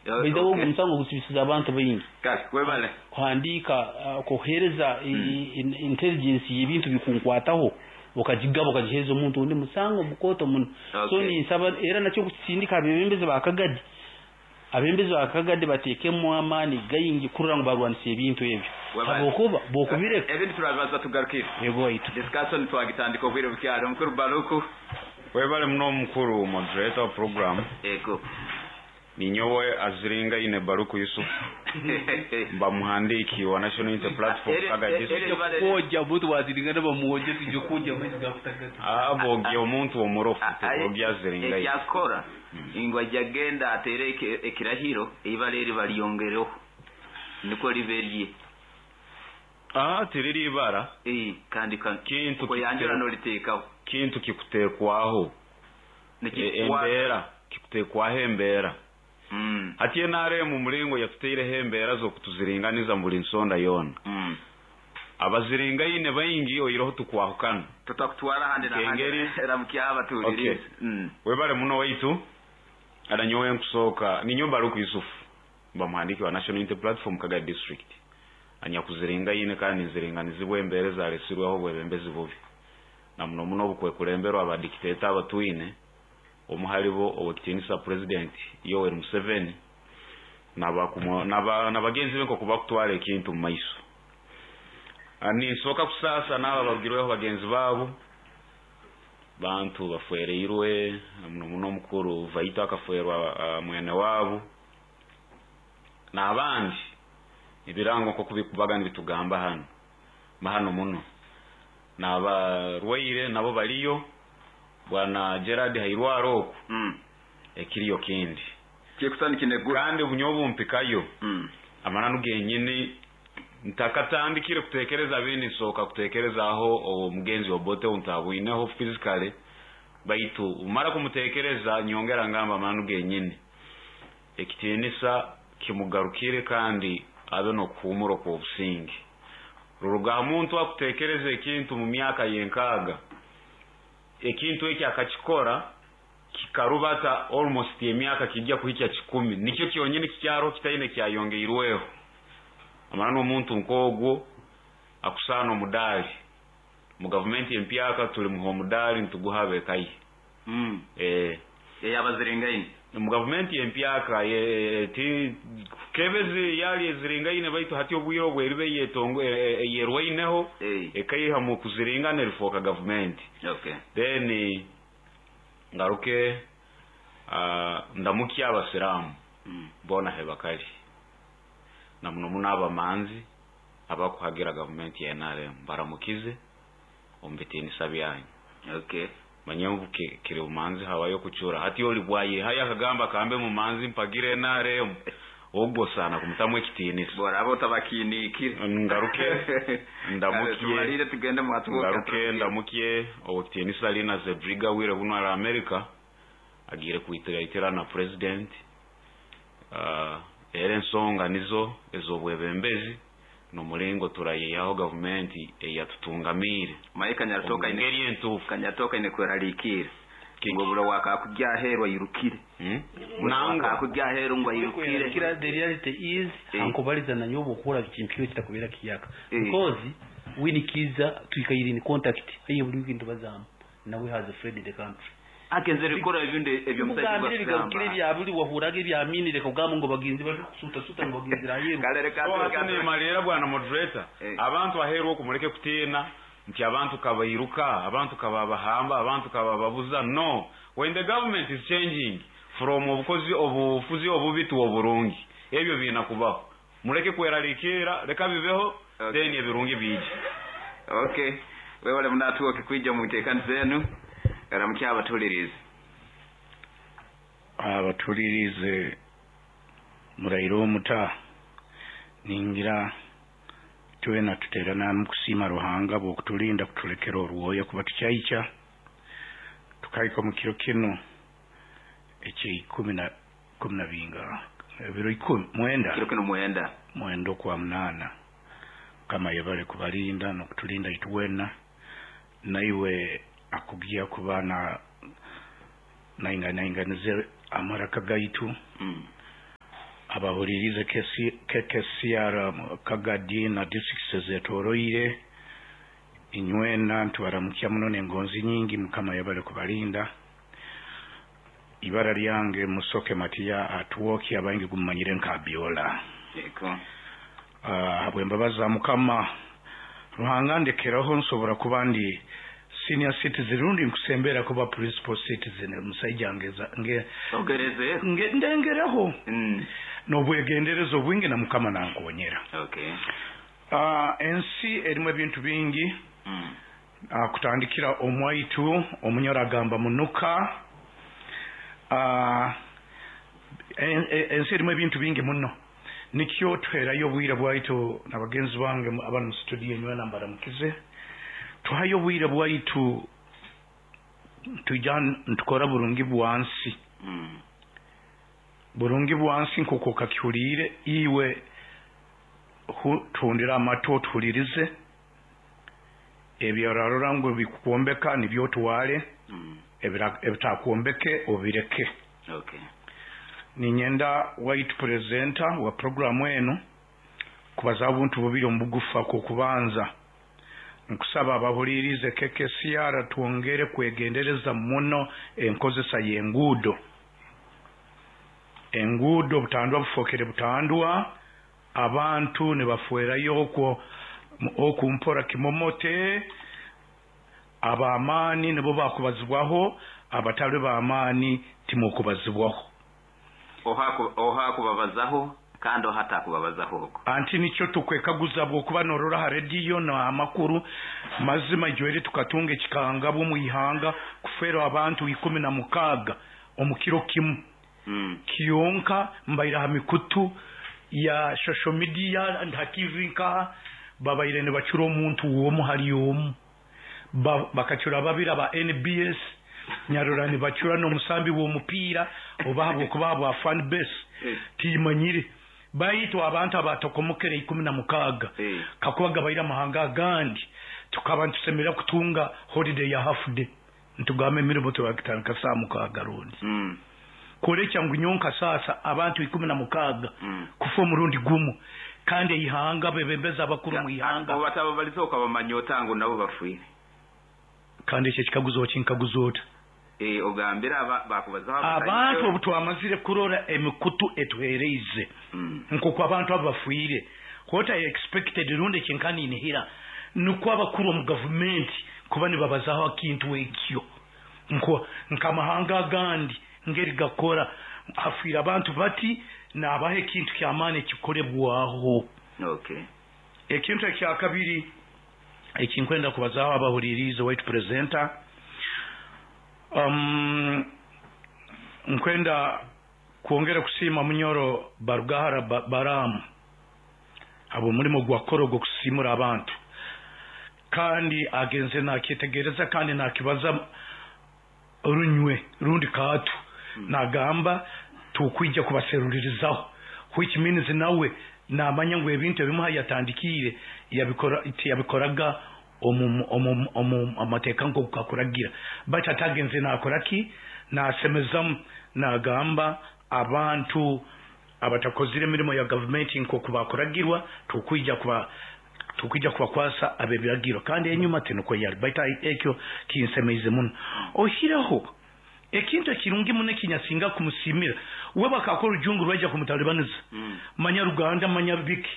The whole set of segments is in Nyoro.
By the way, omusango gusibisiza abantu baingi. Kale, webale. Kuhandiika, kuheereza intelligence y'ebintu bikunkwataho, okagigaba okagiheereza omuntu ondi, musango mukooto muno. So ninsaba era nakyo kukisindika abebembezi ba Kagadi. Abebembezi ba Kagadi bateekemu amaani gaingi kurora ngu barwanisa ebintu ebyo. Habwokuba bwokubireka. Ebindi turabibaza tugarukire. Yego waitu. Discussion twagitandika obwire bukyali. Omukuru Baruku. Webale muno omukuru moderator wa program. Ego. Ninyowe Aziringaine Baruku Yusuf, mba muhandiiki wa National Unity Platform Kaga District. Kwogya omuntu waziringana bamwogya, tujya kwogya amaizi gakutagata. Ah, bogya omuntu omurofu, tibogya Aziringaine. Ekyakora ngu ajja genda atere ekirahiro, eibara eri balyongereho nikwo libe rye. Ah, tiriri ibara. Kandi Kintu koyanjura noliteekaho. Kintu kikuteekwaho. Embeera, kikuteekwaho embeera. Hati NRM omuringo yatutaireho embeera z'okutuziringaniza mu buri nsonda yoona. Abaziringaine baingi oihireho tukwahukana. Tutakutwara ahandi n'ahandi. Nk'engeri. Ramukya abatuhuririize. Okay. Webale muno waitu. Era nyowe nkusooka, ninyowe Baruku Yusuf, mba muhandiiki wa National Unity Platform Kagadi District. Anyakuziringaine kandi nziringanizibwa embeera ezaresirweho obwebembezi bubi. Na muno muno obukwekulemberwa aba dictator abatwine, omu haribo Owekitiinisa President Yoweri Museveni na bagenzi be nkoku bakutwara ekintu mu maiso. Ninsooka kusaasa n'abo abarugirweho bagenzi baabo, bantu bafwereirwe, na muno muno omukuru Vaito akafwerwa mwene waabo, n'abandi ebirango nkoku bikubaga nibitugamba hanu, hano muno. N'abarwaire nabo bariyo, Bwana Gerard Hairwaro oku, ekiriyo kindi. Kandi nyowe obumpikayo, amananu genyini ntakatandikire kutekereza abindi, nsooka kutekerezaho omugenzi Obote ou ntabwineho physically, baitu mara kumutekereza nyongera ngamba amananu genyini ekitiinisa kimugarukire kandi abe n'okuhuumura okw'obusinge. Ruruga aha muntu akutekereza ekintu mu myaka y'enkaaga, ekintu eki akakikora kikarubata almost emyaka kijya kuhikya 100, nikyo kyonyini kikyariho kitaine kyayongeirweho. Amananu omuntu nk'ogwo akusaana omudaali. Mu gavumenti empyaka tulimuha omudaali nituguha ab'eka ye. Eyabaziringaine. Mu gavumenti empyaka ti kebezi yali eziringaine, baitu hati obwire obu eriba eyerwaineho ekaiha mu kuziringana erifooka gavumenti. Then ngaruke ndamukye abasiraamu boona he bakali, na muno muno abamanzi abakuhagira gavumenti ya NRM, baramukize omu bitiinisa byanyu. Manye ngu kiri bumanzi habayo kucura. Hati oli bwayehayo akagamba kambe mumanzi mpagire NRM, ogwo osaana kumutamu ekitiinisa. Boraba otabakiiniikire. Ngaruke ndamukye. Tumalire tugende mwatubuka. Ngaruke ndamukye owekitiinisa Lina Zedriga wire buno ari America, agiire kwitiraitira na president. Era ensonga nizo ez'obwebembezi n'omuringo turayeyihaho gavumenti eyatutungamiire Maye Kanyaritoka omu ngeri entuufu. Kanyaritoka aine kweraliikirra ngu oburo wakakugya aheeru airukire. Nangwa. Wakakugya aheeru ngu airukire. The reality is, ankubaliza nanyowe obwokuhurra bikimpire kitakubera kiyaka. Because Winnie Kiiza twikaire in contact, haihi buli wiiki nitubazaamu, nawe has fled the country. Agenzere kukora ebindi eby'omusaija Mugambire ebigakugamba. Ebigarukire ebya buli wahuraga ebya mini, leka kugamba ngu bagenzi bari kusuta-suta ngu bagenzere aheeru. Kale reka So hati reka nimaliira bwana moderator, abantu aheeru oku muleke kutiina nti abantu kabairuka, abantu kababahamba, abantu kabababuza. No, when the government is changing from obukozi obufuzi obubi to oburungi, ebyo biina kubaho. Muleke kweraliikirra, leka bibeho, then ebirungi biije. Okay. Webale muno Atwoki kwija omu nteekaniza enu. Ramukya abatuhuliriize. Abatuhuliriize muraire omuta, ningira twena tuteerana hamu kusiima Ruhanga habw'okutulinda kutulekera orwoya kuba tukyaikya tukahika omu kiro kinu eky'ikumi na ikumi na binga ebiro ikumi mwenda. Kiro kinu mwenda. Mwenda okwa munaana. Mukama ayebale kubalinda n'okutulinda itwena, naiwe akugya kuba na naingainainganize amaraka gaitu. Abahulirize KKCR Kagadi na districts ezetoroire, inywena ntubaramukya muno n'engonzi nyingi. Mukama yabale kubalinda. Ibara lyange Musoke Matiya Atwoki, abaingi gumumanyire nka Biola. Habw'embabazi za Mukama Ruhanga ndekeraho nsobora kuba ndi senior citizen rundi nkusembera kuba principal citizen omusaija ndengereho n'obwegendereza obwingi na Mukama nankonyera. Ensi erimu ebintu bingi. Kutandikira omwaitu omunyoro agamba munuka. Ensi erimu ebintu bingi muno, nikyo tuherayo obwire bwaitu na bagenzi bange abali mu studio nywena mbaramukize. Tuhayo obwire bwaitu twija ntukora burungi bwansi. Burungi bwansi nk'oku okakihuliire iwe, tuhundire amatu otuhulirize ebyorarora ngu bikukwombeka nibyo otwale, ebitakwombeke obireke. Ninyenda waitu presenter wa programu enu kubaza obuntu bubiri omu bugufu. Akokubanza, nkusaba abahulirize KKCR twongere kwegendereza muno enkozesa y'enguudo. Enguudo butandwa bufokere butandwa, abantu nibafwerayo okwo okumpora kimomote, ab'amaani nibo bakubazibwaho, abatali b'amaani timukubazibwaho. Oha kubabazaho kandi oha atakubabazaho okwo. Anti nikyo tukwekaguza bw'okuba norora ha rediyo n'amakuru mazima ijweri tukatunga ekikangabwa omu ihanga kufeerwa abantu 16 omu kiro kimu. Kyonka mbaire ha mikutu ya social media ha TV nkaha babaire nibacura omuntu omu hali omu. Bakacura babiri aba NBS, nyarora nibacura n'omusambi w'omupiira oba habwokuba habwa fan base timanyire. Baitu abantu abatokomokere 16 kakuba gabaire amahanga agandi tukaba nitusemerera kutunga holiday ya half day, ntugamba emirimo turakitandika saa 6 rundi. Kwolekya ngu nyonka sasa abantu 16 kufa omurundi gumu, kandi eihanga bebembezi abakuru mu ihanga. Obu batababaliza okabamanya ota ngu nabo bafiire? Kandi ekyo ekikaguzo okinkaguza ota? Ogambire bakubazaho abantu obu twamazire kurora emikutu etuhereize nk'oku abantu abo bafiire. What I expected rundi ekinkaninihira nukwo abakuru omu gavumenti kuba nibabazaho ekintu ekyo. Nk'amahanga agandi ngeri gakora, hafiire abantu bati nabaha ekintu ky'amaani ekikolebwaho. Ekintu ekyakabiri ekinkwenda kubazaho abahuliriize waitu presenter, nkwenda kwongera kusiima Munyoro Barugahara Baramu habw'omulimo gwakora ogw'okusiimura abantu, kandi agenze nakyetegereza kandi nakibaza runywe rundi kaatu, nagamba tukwija kubaserulirizaho, which means nawe namanya ngu ebintu ebimuha yatandikiire tiyabikoraga omu amateeka nk'oku kakuragira, baitu atagenze nakora ki, nasemezamu nagamba abantu abatakozire emirimo ya gavumenti nk'oku bakuragirwa tukwija kubakwasa ab'ebiragiro, kandi enyuma tinukwo yali, baitu ekyo kinsemeize muno. Ohireho ekintu ekirungi muno ekinyasinga kumusiimira, we bakakora orujungu rwaija kumutalibaniza, manya Ruganda manya biki,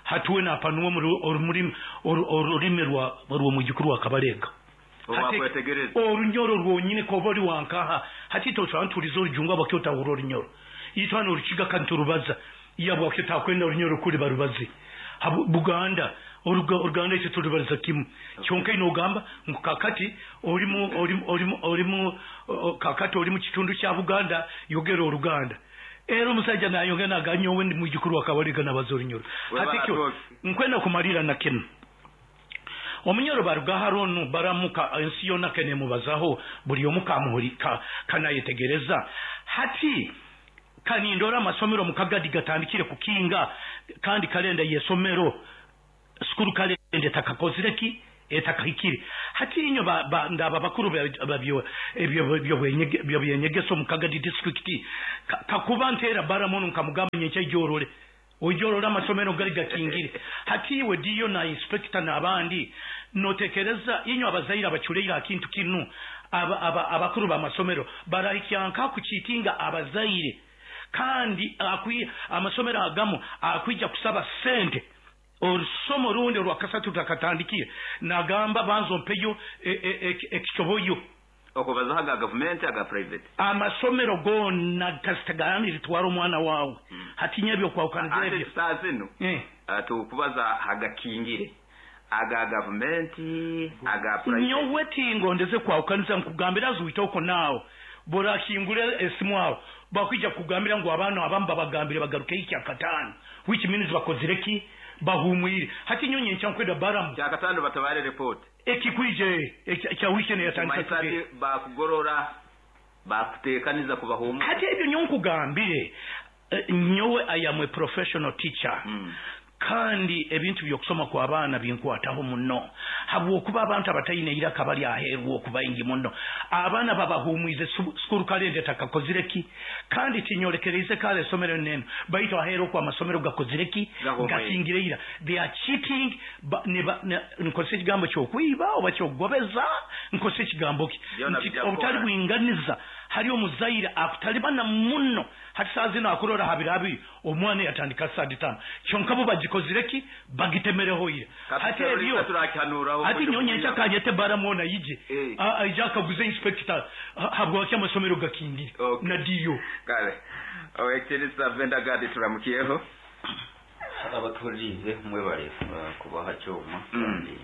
hati we napanuwa orulimi rw'omwijukuru wa Kabalega. Orunyoro rwonyine koba ori wankaha, hati toshobora ntuliza orujungu abakyo otahura orunyoro. Itwe orukiga kandi turubaza, yabwakyo takwenda orunyoro kuri barubaze. Buganda, Oruganda ekyo turubariza kimu. Kyonka ino ogamba ngu kakati kakati ori mu kitundu kya Buganda yogera Oruganda. Era omusajja nayongera naganyowe ndi mwijukuru wa Kabalega nabaza orunyoro. Hati kyo nkwenda kumalira na kinu. Omunyoro Barugahara onu baramuka ensi yona kenemubazaho buli omu kanayetegereza. Hati kanindora amasomero mu Kagadi gatandikire kukinga, kandi kalenda y'esomero sukuru kalenda etakakozire ki etakahikire. Hati inyo ndaba bakuru ebyo byenyegesa omu Kagadi district, kakuba nteera baramu nkamugamba nyenkya ijorole ojorora amasomero gali gakingire. Hati iwe diyo na inspector n'abandi notekereza inyo abazaire abaculeire akintu kinu, abakuru b'amasomero barahikyanka kukitinga abazaire, kandi amasomero agamu akwija kusaba sente orusomo rundi orwakasatu tutakatandikire, nagamba banza ompeyo ekicoboyo. Okubazaho aga gavumenti, aga private? Amasomero gona kasita litwara omwana wawe. Hatinya ebyokwahukaniza ebyo. Saa zino tukubaza hagakingire aga gavumenti, aga private. Nyowe tingondeze kwahukaniza, nkugambira zuitoko naawe borakingura esimu aho bakwija kugambira ngu abaana abamu babagambire bagaruke ikyakataano, which means bakozire ki? Bahumwire. Hati nyonyi nkwenda baramu kyakataano batabare report ekikwije kya weekend yatandika today, bakugorora bakutekaniza kubahumura. Hati ebyo nyo nkugambire, nyowe I am a professional teacher. Kandi ebintu by'okusoma kw'abaana binkwataho muno, habwokuba abantu abataine iraka bali aheeru okubaingi muno. Abaana babahumwize school calendar takakozire ki, kandi tinyolekereize kale esomero neno, baitu aheeru okwo amasomero gakozire ki, gakingire ira. They are cheating. Nkozesa ekigambo ky'okwiba oba ky'okugobeza, nkozesa ekigambo ki obutali bwinganiza. Hari omuzaire akutalibana muno, hati saa zino akurora habirabi omwana yatandika saa 5, kyonka bo bagikozire ki, bagitemereho ira. Hati ebyo hati nyonye nkyakanyete baramwona ije aija akaguza inspector habwaki amasomero gakingire na diyo. Kale owekitinisa Venda Gadi, turamukiyeho. Abatuhuririze mwebale kubaha kyoma, kandi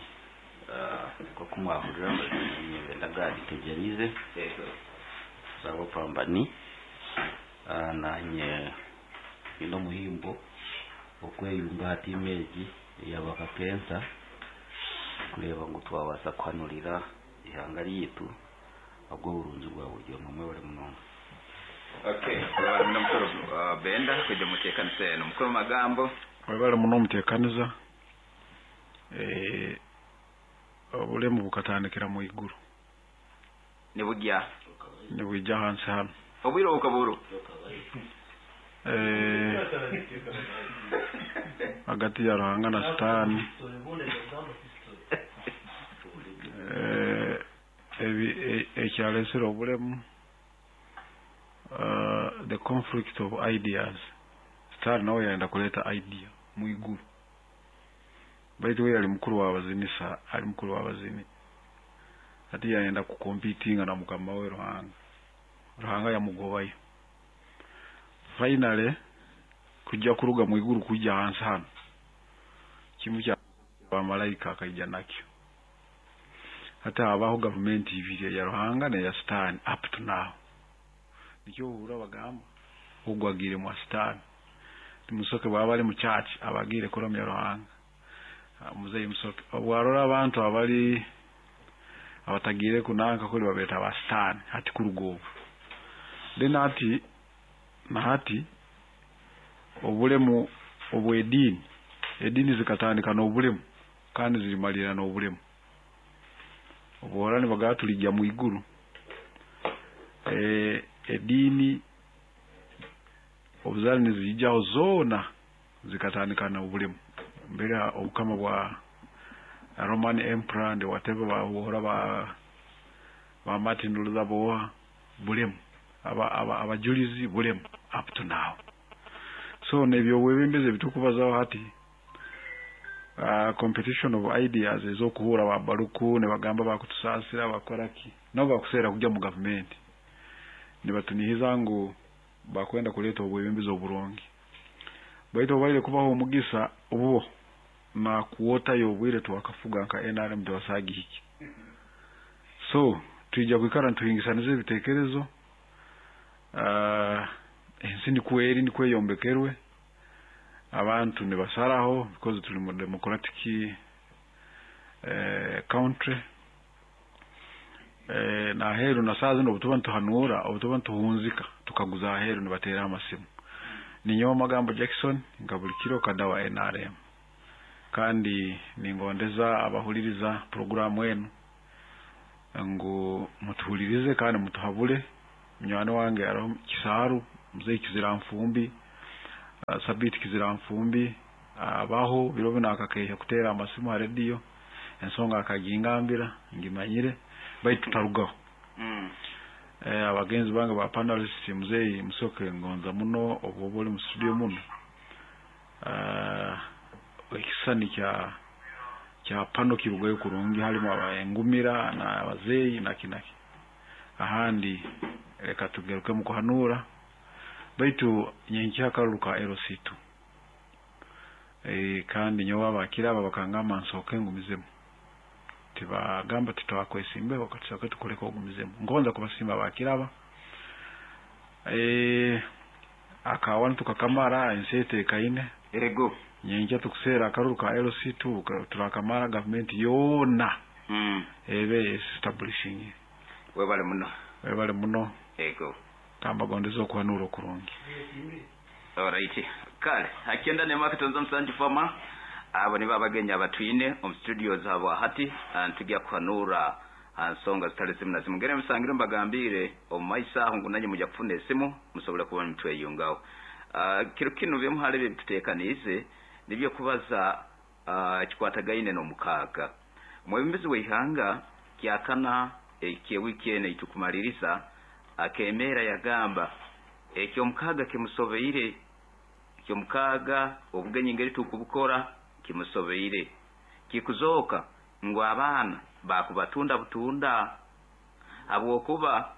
nkoku mwahurira amazima, Venda Gadi Tegyerize zabo pambani, nanye nyine omuhimbo okweyunga aha tiimu egi eyabakakensa kureba ngu twabasa kuhanurira ihanga ryitu ogw'oburungi bwa buri omwe. Mwebale munonga. Okay, webale muno mukuru Benda kujja muteekanisa eno. Mukuru Magambo. Webale muno omuteekaniza. Obulemu bukatandikira mu iguru. Nibujya. Nibwijja hansi hano. Obwire obukaburu. Hagati ya Ruhanga na Sitaani. Ekyalesere obulemu, the conflict of ideas. Sitaani nawe yayenda kuleta idea mu iguru, baitu we yali mukuru w'abazinisa, ali mukuru w'abazini, ati yayenda kukompitinga na mukama we Ruhanga. Ruhanga yamugobayo. Finally kujja kuruga mu iguru kujja hansi hano, kimu kya bamalaika akaija nakyo. Hati habaho gavumenti ibiri, ya Ruhanga neya Sitaani up to now. Nikyo ohurra bagamba ogwo agiire mwa Sitaani. Musoke bwaba ari mu church abagiire kuramya Ruhanga. Muzeyi Musoke obwarora abantu abali abatagiire kunanka kuli babeta ba Sitaani hati kuruga obu. Then hati na hati obulemu obw'ediini, ediini zikatandika n'obulemu kandi zirimalira n'obulemu. Obuhora nibagaa tulijja mu iguru. Ediini obuzali nizijaho zoona zikatandika n'obulemu. Mbere obukama bwa Roman Emperor and whatever babuhora ba Martin Luther boha bulemu, abajulizi bulemu up to now. So nebyobwebembezi ebitukubazaho hati, competition of ideas ezokuhura ba baruku ne bagamba bakutusasira bakoraki, nabo bakuseera kujya mu gavumenti nibatunihiza ngu bakwenda kuleta obwebembezi oburungi, baitu obaire kubaho omugisa obubo na kuwotayo obwire twakafuga nka NRM tewasagihiki. So twija kwikara ntuhingisaniza ebitekerezo. Ensi nikweri nikweyombekerwe, abantu nibasaraho because tuli mu democratic country. Naheru na saa zino obutuba ntuhanura, obutuba ntuhunzika tukaguza aheru nibatera amasimu. Ninyowe Magambo Jackson nka buli kiro kada wa NRM, kandi ningondeza abahuliriza programu enu. Ngu mutuhulirize kandi mutuhabule. Munywani wange aroho Kisaaru, Mzee Kiziranfumbi, Sabiti Kiziranfumbi, abaho biro bino akakeeha kuteera amasimu ha rediyo, ensonga akagingambira, ngimanyire, baitu tutarugaho. Abagenzi bange ba panelist, Mzee Musoke ngonza muno obu oli mu studio muno. Ekisisani kya pano kirugayo kurungi, halimu engumira n'abazeeyi naki naki. Ahandi reka tugarukemu kuhanura, baitu nyenkya akaruru ka LC2. Kandi nyowe abakiraba bakangamba nsooke ngumizemu. Tibagamba titwakwesimbeho, katusooke tukuleke ogumizemu. Ngonza kubasiima abakiraba. Akawa tukakamara ensi etekaine. Ego. Nyenkya tukuseera akaruru ka LC2 turakamara gavumenti yoona. Ebe establishing. Webale muno. Webale muno. Ego. Kambagondeza okuhanura okurungi. Alright. Kale, hakenda ne market nzo msanju fama. Abo nibo abagenyi abatwine omu studio zabo hati ntujya kuhanura nsonga zitali zimu na zimu. Ngere musangire mbagambire omu maiso aho ngu nanye mujya kufuna esimu musobole kuba mutweyungaho. Kiro kinu byemuhale bye tutekaniize nibyo kubaza kikwatagaine n'omukaaga. Omwebembezi w'eihanga kyakana eky'ewiki eno eitukumaliriza akemeera yagamba eky'omukaaga kimusobeire, eky'omukaaga obugenyi ngeri tukubukora kimusobeire, kikuzooka ngu abaana bakubatunda butunda habwokuba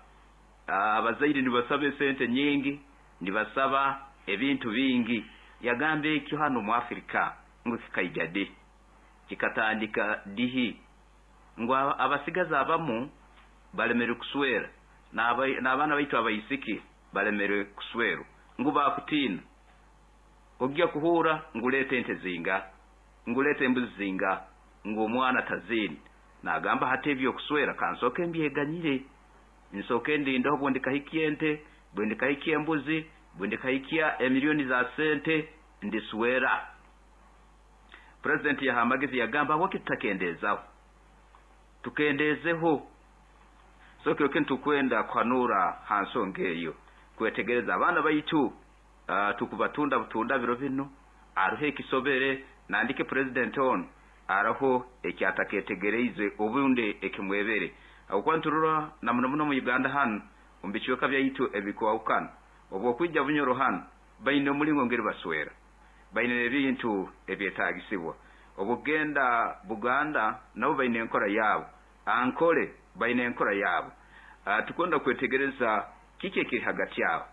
abazaire nibasaba esente nyingi, nibasaba ebintu bingi. Yagamba ekyo hano mu Afrika ngu kikaija di, kikatandika dihi, ngu abasigazi abamu balemere kuswera n'abaana baitu abaisiki balemere kuswerwa, ngu bakutiina ojja kuhura nguleeta ente zinga, nguleeta embuzi zinga, ngu omwana taziine. Nagamba hati ebyokuswera kansooke mbyeganyire, nsooke ndindeho bwe ndikahikya ente, bwe ndikahikya embuzi, bwe ndikahikya emiliyoni za sente ndiswera. President yaha amagezi yagamba habwaki tutakendeezaho, tukendeezeho. So kiro kinu tukwenda kuhanura ha nsonga eyo, kwetegereza abaana baitu tukubatunda butunda biro bino, aroho ekisobere nandike president ono araho ekyataketegereize obundi ekimwebere. Habwokuba nturora na muno muno mu Uganda hanu omu bicweka byaitu ebikwahukana, obwokwija Bunyoro hanu baine omulingo ngeri baswera, baine ebintu ebyetaagisibwa. Obwokugenda Buganda nabo baine enkora yaabo, Ankole baine enkora yaabo. Tukwenda kwetegereza kiki ekiri hagati aho,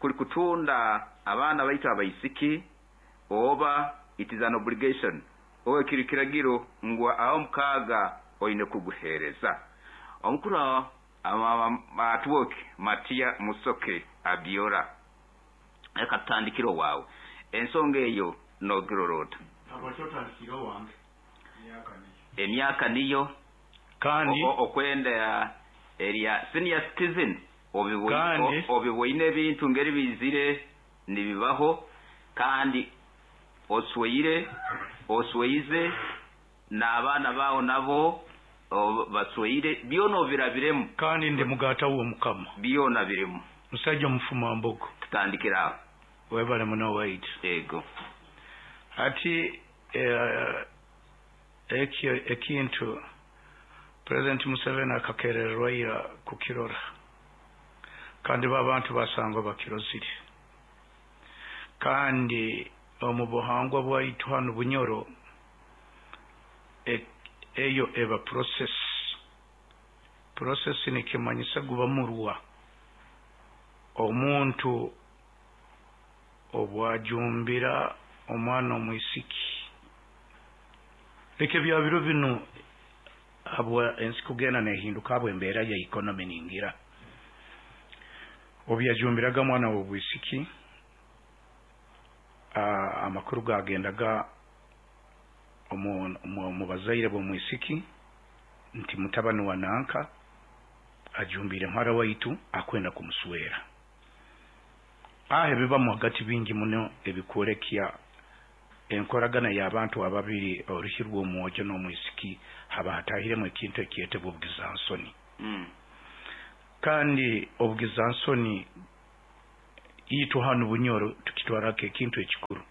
kuli kutunda abaana baitu abaisiki oba it is an obligation, oba kiri kiragiro ngu aho mukaaga oine kuguheereza. Omukuru Atwoki Matia Musoke Abiora, reka tutandikire owaawe ensonga eyo nogirora ota? Emyaka niyo kandi okwenda erya senior citizen obiboine ebintu ngeri bizire nibibaho, kandi osweire osweize n'abaana bawo nabo basweire, byona obirabiremu. Kandi ndi mugata w'omukama, byona birimu. Musajja omufuma mbogo. Tutandikire aho. Webale muno waitu. Ego. Ati ekyo ekintu President Museveni akakerererwa ira kukirora, kandi babantu basangwa bakirozire. Kandi omu buhangwa bwaitu hanu Bunyoro eyo eba process. Process nikimanyisa guba murwa omuntu obwajumbira omwana omwisiki. Leka ebya biro bino habwa ensi kugenda nehinduka habwa embeera ya economy ningira. Obu yajumbiraga mwana w'obwisiki, amakuru gagendaga omu bazaire b'omwisiki nti mutabani wa nanka ajumbire muhara waitu akwenda kumuswera. Aho ebibamu hagati bingi muno ebikwolekya enkoragana y'abantu ababiri, oruhi rw'omwojo n'omwisiki, haba hatahiremu ekintu ekyetebwa obugizansoni. Kandi obugizansoni itwe hanu Bunyoro tukitwarako ekintu ekikuru.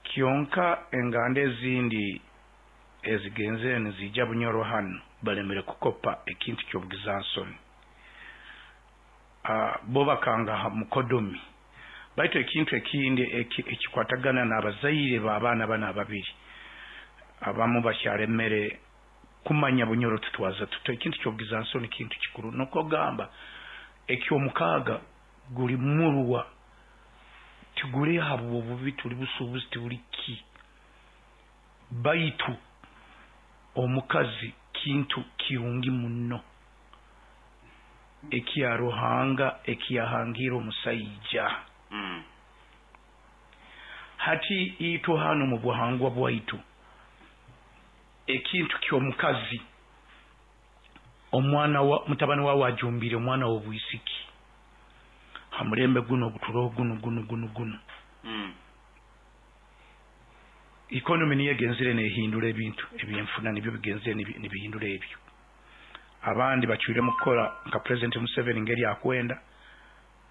Kyonka enganda ezindi ezigenzere nizija Bunyoro hanu balemere kukopa ekintu ky'obugizansoni. Bo bakanga ha mukodomi. Baitu ekintu ekindi ekikwatagana n'abazaire b'abaana bano ababiri, abamu bakyalemere kumanya Bunyoro tutwaza tuta. Ekintu ky'obugizansoni kintu kikuru. Nukwo gamba eky'omukaaga guli murwa, tiguli habw'obubi, tuli busuubuzi, tibuli ki, baitu omukazi kintu kirungi muno ekya Ruhanga ekiyahangiire omusaija. Hati itwe hanu mu buhangwa bwaitu ekintu ky'omukazi, omwana wa mutabani wawe ajumbire omwana w'obwisiki ha mulembe guno oguturoho guno guno guno guno. Economy niyo egenzire nehindura ebintu, ebyenfuna nibyo bigenzire nibihindura ebyo. Abandi bacwiremu kukora nka President Museveni ngeri akwenda,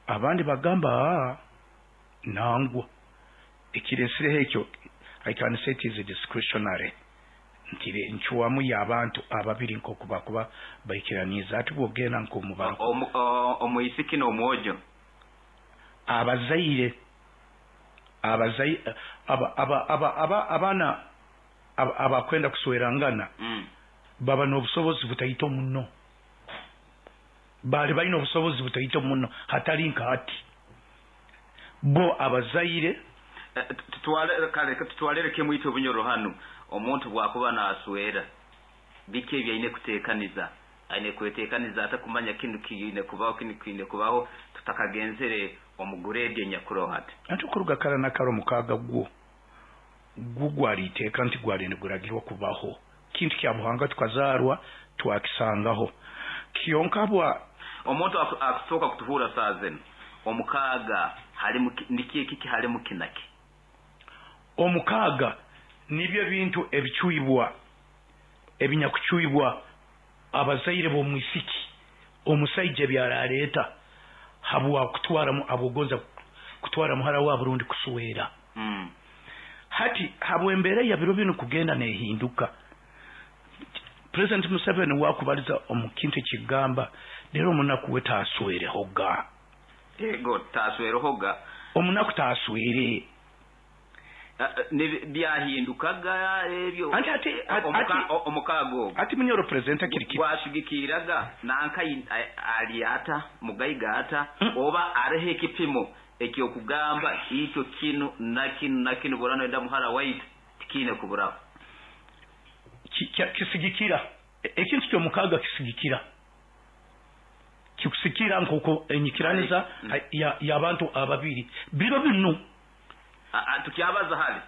abandi bagamba nangwa ekiresireho ekyo, I can say it is discretionary, nti ncwamu y'abantu ababiri nk'oku bakuba baikiraniize. Ati bwogenda nk'omubaro Omwisiki n'omwojo, abazaire abaana abakwenda kuswerangana baba n'obusobozi butaito muno, bali balina obusobozi butaito muno, hatali nka hati bo abazaire. Kale tutwalire kimu itwe Bunyoro hanu, omuntu bwakuba naswera, biki ebi aine kuteekaniza, aine kweteekaniza ata kumanya kinu kiine kubaho, kinu kiine kubaho, tutakagenzere omu grade enyakuroho hati? Anti okuruga kara na kara omukaaga gwo gwali iteeka, nti gwali niguragirwa kubaho, kintu kya buhanga, tukazaarwa twakisangaho. Kyonka bwa Omuntu akusooka kutuhuura saa zinu, omukaaga halimu niki, ekiki halimu kinaki? Omukaaga nibyo ebintu ebicwibwa, ebinyakucwibwa abazaire b'omwisiki, omusaija ebyaraleeta habwa kutwara, habwogonza kutwara muhara waabo rundi kuswera. Hati habw'embeera ya biro binu kugenda nehinduka, President Museveni wakubaliza omu kintu ekigamba leero omunaku we taaswerehoga. Ego, taaswerehoga. Omunaku taaswere. Byahindukaga ebyo. Anti ati Omukaaga ogwo ati Munyoro president kiri kiti. Gwashigikiraga nanka ali ata mugaiga ata, oba areho ekipimo ekyokugamba ikyo kinu na kinu na kinu burano enda muhara waitu tikiine kuburaho? Kisigikira ekintu ky'omukaaga, kisigikira kikusikira nk'oku enyikiraniza y'abantu ababiri biro binu. Tukyabaza hali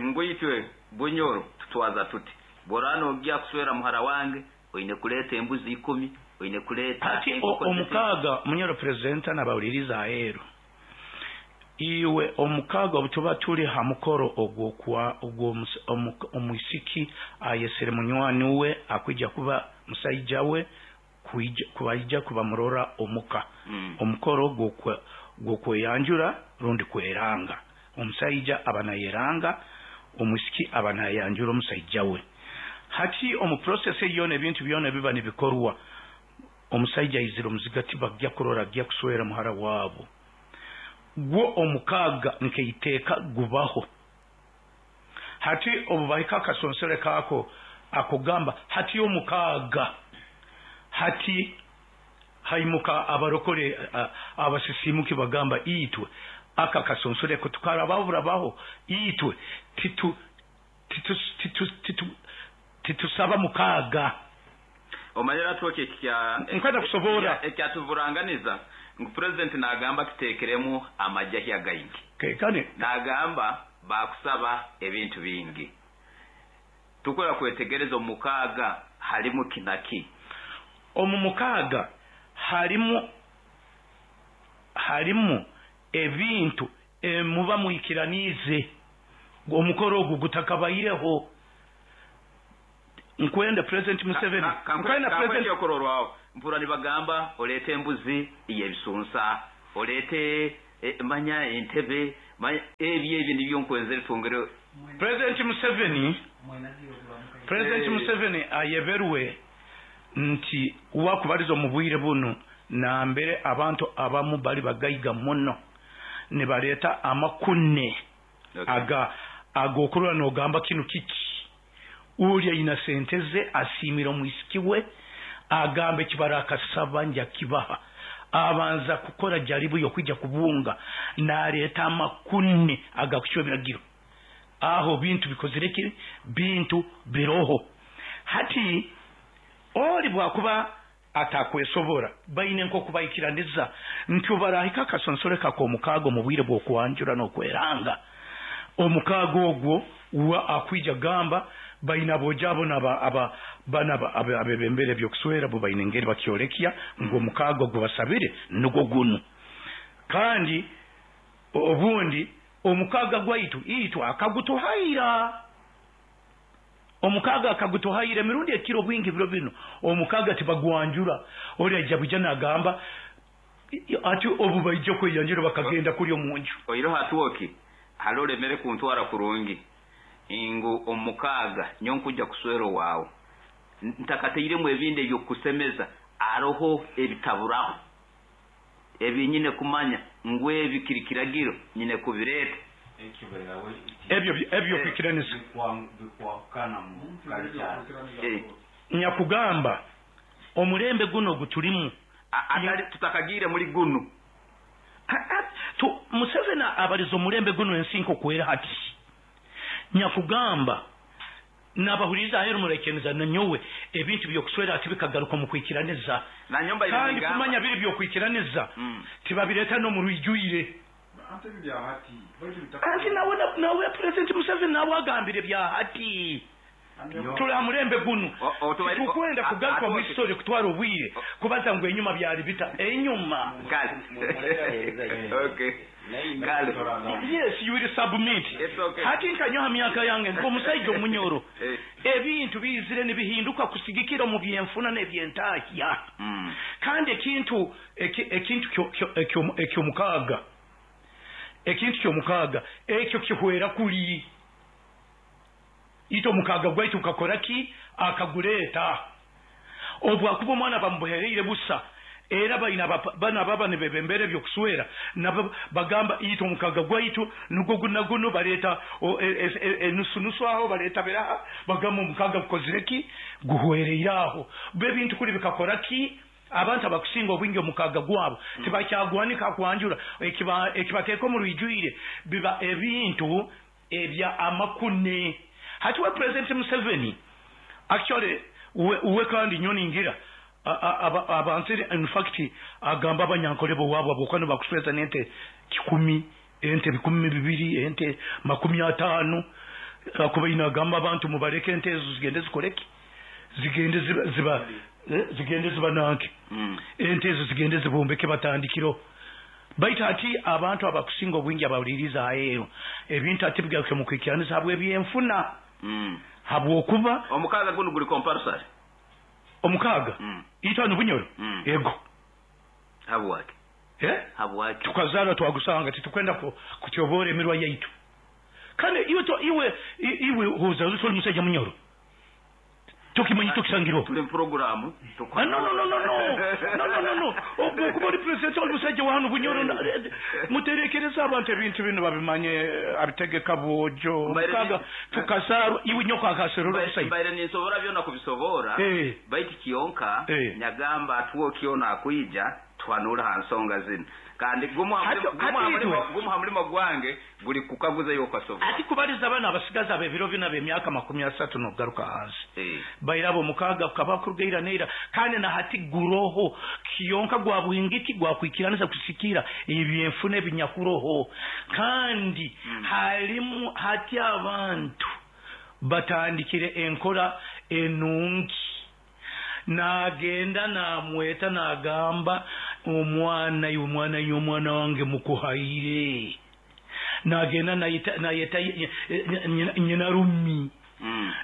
ngu itwe Bunyoro tutwaza tuti, borano ojja kuswera muhara wange oine kuleeta embuzi 10, oine kuleeta Ati enkoko ziti. Omukaaga, Munyoro president n'abawuliriza aheeru, iwe omukaaga obu tuba tuli ha mukoro ogwokwa omwisiki ayesere munywani we akwija kuba musaija we kubaija kubamurora omuka, omukoro gw'okweyanjura rundi kweranga, omusaija aba nayeranga, omwisiki aba nayanjura omusaija we. Hati omu process eyo ebintu byona biba nibikorwa, omusaija aizire omuzigati, bajja kurora ajja kuswera muhara waabo, gwo omukaaga nkeiteeka gubaho. Hati obu bahika akasonsore kaako akugamba hati omukaaga, hati haimuka abarokore abasisimuki bagamba itwe aka kasonsore ko tukarababurabaho, itwe titu titu titu titu titusaba mukaaga. Omanyira twoki ekya Nkwenda kusoboora. Ekyatuburanganiza ngu president nagamba tuteekeremu amajahya gaingi. Kane. Nagamba bakusaba ebintu bingi, tukora kwetegereza omukaaga halimu kinaki. Omu mukaaga harimu ebintu muba mwikiraniize omukoro ogu gutakabaireho. Nkwenda President Museveni, nkwenda President Okurorwaho mpura nibagamba oleete embuzi y'ebisunsa, oleete manya entebe, manya ebyo ebyo nibyo nkwenzere twongere. President Museveni, President Museveni ayeberwe nti wakubaliza omu bwire buno nambere abantu abamu bali bagaiga muno nibaleeta amakune aga agokurora nogamba kinu kiki. Uli aina sente ze asiimire omwisiki we, agamba ekibara akasaba nja kibaha, abanza kukora jaribu yokwija kubunga naleeta amakune agakucwa ebiragiro. Aho bintu bikozire ki? Bintu biroho hati. Oli bwakuba atakwesobora, baine nk'okubaikiraniza nti obarahika akasonsore kak'omukaaga omu bwire bw'okwanjura n'okweranga omukaaga ogwo, wa akwija gamba baina abojo abo naba aba bana abebembere ebyokuswera bo baine engeri bakyolekya ngu omukaaga ogwo basabire nugwo gunu. Kandi obundi omukaaga gwaitu itwe akagutuhaira, omukaaga akagutuhaira emirundi ekiro bwingi. Biro bino omukaaga tibagwanjura, oli aija bwija nagamba ati obu baija kweyanjura bakagenda kuli omunju. Oiroho atwoki hali olemere kuntwara kurungi ngu omukaaga nyo nkujja kuswera owaawe ntakateiremu ebindi ebyokusemeza, aroho ebitaburaho ebi nyine kumanya ngu ebi kiri kiragiro nyine kubireeta. Ebyo kwikiraniza nyakugamba omulembe guno ogutulimu atali tutakagiire muri gunu. Museveni abaliza omulembe guno ensi nkokwera hati. Nyakugamba nabahuliriza aheru muraikiriza nanyowe ebintu byokuswera ati bikagaruka omu kwikiraniza. Kandi kumanya biri byokwikiraniza tibabireeta n'omurwijwire. Anti nawe President Museveni nawe agambire bya hati. Tuli ha mulembe guno, titukwenda kugaruka mu history kutwara obwire kubaza ngu enyuma byali bita enyuma. Yes, you will submit. Hati nkanyoha myaka yange nk'omusaija omunyoro, ebintu bizire nibihinduka kusigikira omu byenfuna n'ebyentahya. Kandi ekintu ekintu ekyomukaaga, ekintu kyomukaaga ekyo kihwera kuli ito omukaaga gwaitu kakora ki akaguleeta. Obwakuba omwana bamubuhereire busa, era baina bana baba nibebembera ebyokuswera nabo bagamba ito omukaaga gwaitu nugwo guna guno, baleeta enusu aho baleeta biraha, bagamba omukaaga gukozire ki guhwereire aho. Bebintu kuli bikakora ki abantu abakusinga obwingi omukaaga gwabo tibakyagwanika kwanjura, ekibateeka omu rwijwire biba ebintu ebya amakune. Hati we President Museveni actually we kandi nyoningira abantu in fact agamba abanyankole bo wabo abokwano bakusweza nente 10, ente 2,000, ente 50, akuba inagamba abantu mubareke ente ezo zigende zikoleki, zigende ziba zigende ziba nanke, ente ezo zigende zibumbeke batandikiro. Baitu ati abantu abakusinga obwingi abawuliriza aheeru ebintu ati bigaruke mu kwikiraniza habw'ebyenfuna, habwokuba omukaaga guno guli compulsory. Omukaaga itano Bunyoro ego habwaki habwaki tukazarwa twagusanga titukwenda kutyobora emirwa yaitu. Kandi iwe iwe huza uri musajja munyoro tukimanyi tukisangiro tuli programu. No okuba ori president ori musajja wa hano Bunyoro, muterekereza abantu ebintu bino babimanye abitegeka bwojo mukaga tukazarwa iwe nyoko akaserura omusajja. Mbaire ninsobora byona kubisobora, baitu kiyonka nyagamba atuwo kyona akwija twanura ha nsonga zino. Kandi gumu ha mulimo gwange guli kukaguza yokasobora. Ati kubaliza abana abasigaza ab'ebiro bina b'emyaka 30 n'okugaruka hansi bairabo omukaaga kukaba kurugaira neira. Kandi na hati guroho kiyonka gwa buhingiki gwakwikiranisa kusikira ebyenfuna ebinyakuroho. Kandi halimu hati abantu batandikire enkora enungi. Nagenda namweta nagamba omwana iwe omwana iwe omwana wange mukuhaire. Nagenda nayeta nyina rumi.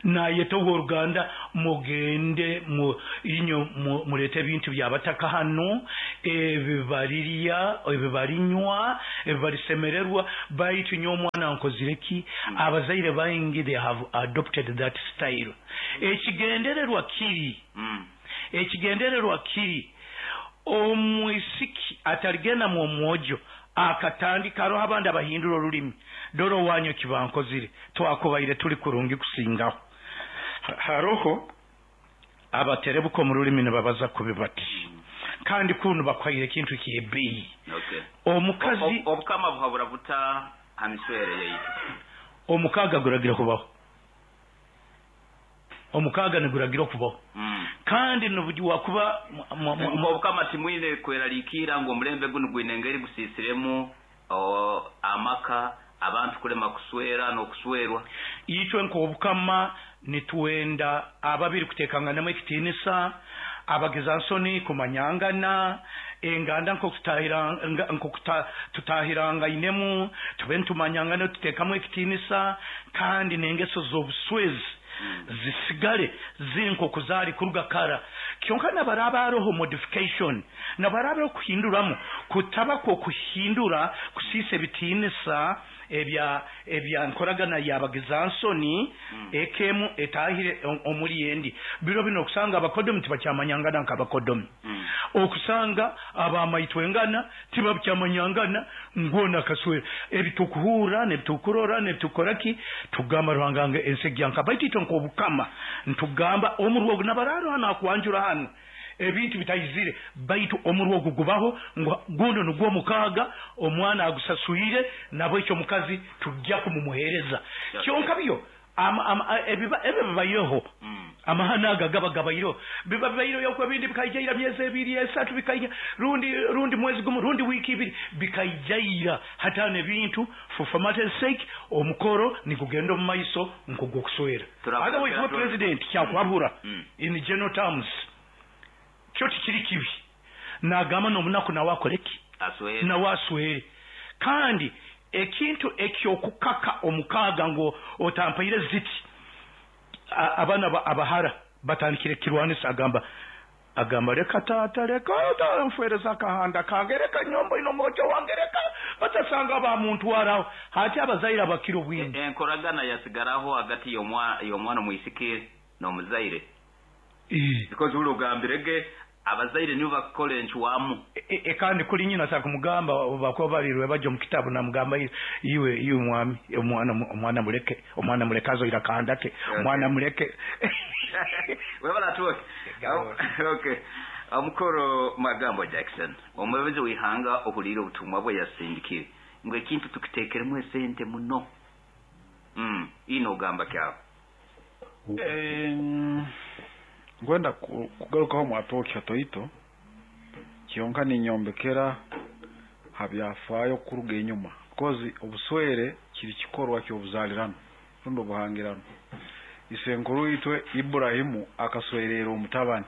Nayeta ow'oruganda, mugende inyo murete ebintu byabataka hano, ebi barirya, ebi barinywa, ebi barisemererwa, baitu nyowe omwana nkozire ki? Abazaire baingi they have adopted that style. Ekigendererwa kiri, ekigendererwa kiri, omwisiki ataligenda mu omwojo akatandika, haroho abandi abahindura orulimi, dora owanyu ekibankozire, twakubaire tuli kurungi kusingaho. Haroho abaterebuka omu rulimi nibabaza kubi bati, kandi kunu bakuhaire ekintu ky'ebbeeyi. Omukazi Obukama buhabura buta ha miswere yaitu? Omukaaga guragira kubaho, omukaaga niguragira okubaho, kandi wakuba Obukama timwine kweraliikira ngu omulembe gunu gwine engeri gusiisiremu amaka, abantu kulema kuswera n'okuswerwa. Itwe nk'obukama nitwenda ababiri kuteekanganamu ekitiinisa, abagezansoni kumanyangana, enganda nk'oku tutahirangainemu, tube nitumanyangana, tuteekamu ekitiinisa, kandi n'engeso z'obuswezi zisigale ziri nk'oku zaali kuruga kara. Kyonka nabaraba haroho modification, nabaraba okuhinduramu, kutaba kw'okuhindura kusiisa ebitiinisa ebya nkoragana y'abagezansoni, ekemu etahire omuri endi. Biro bino okusanga abakodomi tibakyamanyangana nk'abakodomi, okusanga abamaitwengana tibakyamanyangana ngwona akaswera. Ebitukuhurra n'ebitukurora n'ebitukora ki, tugamba Ruhanga nge ensi egyanka, baitu itwe nk'obukama ntugamba omurwa ogu nabararo hano akwanjura hano ebintu bitayizire, baitu omurwa ogu gubaho ngu guno nugwo mukaaga, omwana agusaswire, nabo ekyo omukazi tujja kumumuhereza. Kyonka byo ebyo bibaireho, amahano aga gaba gabaireho, biba bibaireho okwo ebindi bikaijaira myezi 2, 3, bikaija rundi mwezi gumu, rundi wiiki 2, bikaijaira. Hatano ebintu for formality's sake, omukoro nigugenda omu maiso nk'ogw'okuswera. Otherwise we president kyakuhabura in general terms, kyo tikiri kibi, nagamba n'omunaku nawe akole ki? Nawe aswere. Kandi ekintu eky'okukaka omukaaga ngu otampaire ziti, abaana abahara batandikire kirwanisa, agamba leka taata, leka nfwereza akahanda kange, leka nyombo ino omwojo wange, leka batasanga bamuntwaraho. Hati abazaire abakira obwingi. Enkoragana yasigaraho hagati y'omwana omwisiki n'omuzaire. Because uli ogambirege abazaire nibo bakukora enchwamu. Kandi kuli nyina sakumugamba bakuba balirwe bajja omu kitabu namugamba iwe mwami, omwana muleke, omwana muleke azoira akahanda ke, omwana muleke. Webala tuoke. Okay. Omukoro Magambo Jackson, omwebezi w'ihanga ohulire obutumwa bwe yasindikire ngu ekintu tukiteekeremu esente muno. Ino ogamba kyawe. Ngwenda kugarukaho mwatooki hatoito, kyonka ninyombekera habyafaayo kuruga enyuma, because obuswere kiri kikorwa ky'obuzaalirano rundi obuhangirano. Isenkuru itwe Iburahimu akaswerera omutabani,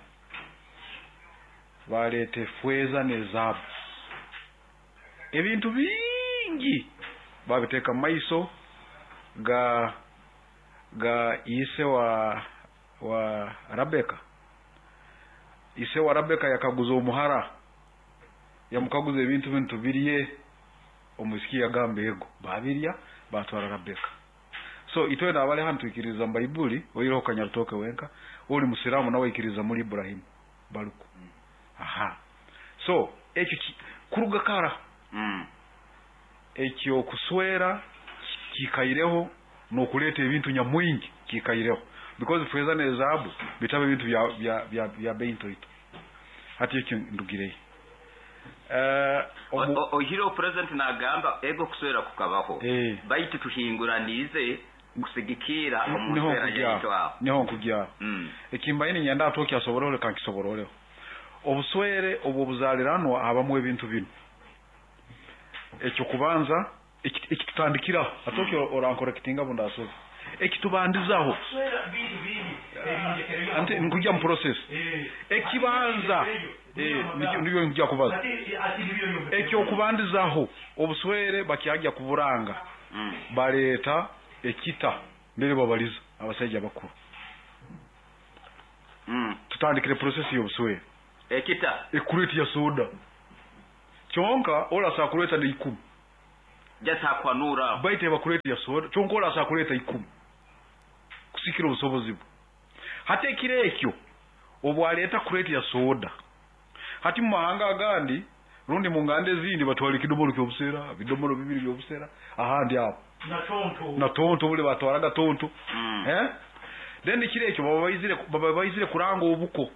baleeta efeeza n'ezaabu, ebintu bingi babiteeka mu maiso ga ise wa Rabeka. Ise wa Rabeka yakaguza omuhara, yamukaguza ebintu binu tubirye, omwisiki yagamba ego, babirya batwara Rabeka. So itwe nabali hanu twikiriza mu Baibuli, oireho kanyarutoke wenka, oli musiramu nawe aikiriza muri Iburahimu baruku. Aha. So ekyo kuruga kara, ekyo kuswera kikaireho n'okuleeta ebintu nyamwingi kikaireho, because feza n'ezaabu bitaba ebintu bya bei ntoito. Hati ekyo ndugireyo. Ohireho president nagamba ego kuswera kukabaho, baitu tuhinguranize kusigikira omu nswera yaitu aho. Niho nkugyaho. Ekimbaine nyenda atoki asoboreho, leka nkisobororeho. Obuswere obw'obuzaliranwa habamu ebintu binu. Ekyo kubanza ekitutandikiraho, atoki orankorekitinga bundasobe. Ekitubandizaho anti nkujya mu process. Ekibanza nibyo nkujya kubaza. Ekyo kubandizaho obuswere bakyajya kuburanga, baleeta ekita mbere babaliza. Abasaija bakuru, tutandikire process y'obuswere. Ekita Ekureti ya soda kyonka olasa kuleta na 10. Just hakwanura. Baite bakuleta ya soda kyonka olasa kuleta 10 kusikira obusobozi bwe. Hati ekiro ekyo obwaleta kureti ya soda, hati mu mahanga agandi rundi mu nganda ezindi batwala ekidomolo ky'obusera, bidomolo bibiri by'obusera ahandi aho na tonto. Na tonto bule batwaraga tonto. Then ekiro ekyo baba baizire kuranga obuko,